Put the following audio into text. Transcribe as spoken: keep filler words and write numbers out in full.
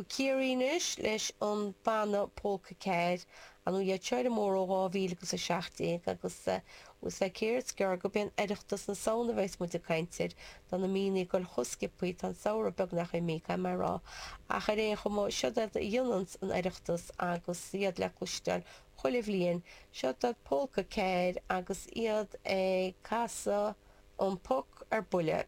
Go Ciarraí anois leis an banna Polca Ceair, an iad seo mór ó dhá mhíle agus a seacht déag agus is le céard is gearr gurb é an Oireachtas na Samhna a bheas muid ag caint air, tá na míonna ag dul chomh sciobthaí, tá an samhradh beagnach imithe, caithfidh mé a rá, ach ar aon chuma, siod iad a dhéananns an Oireachtas agus iad le cloisteáil chuile bhliain, siod iad Polca Ceair agus iad ag casadh An Poc ar Buile.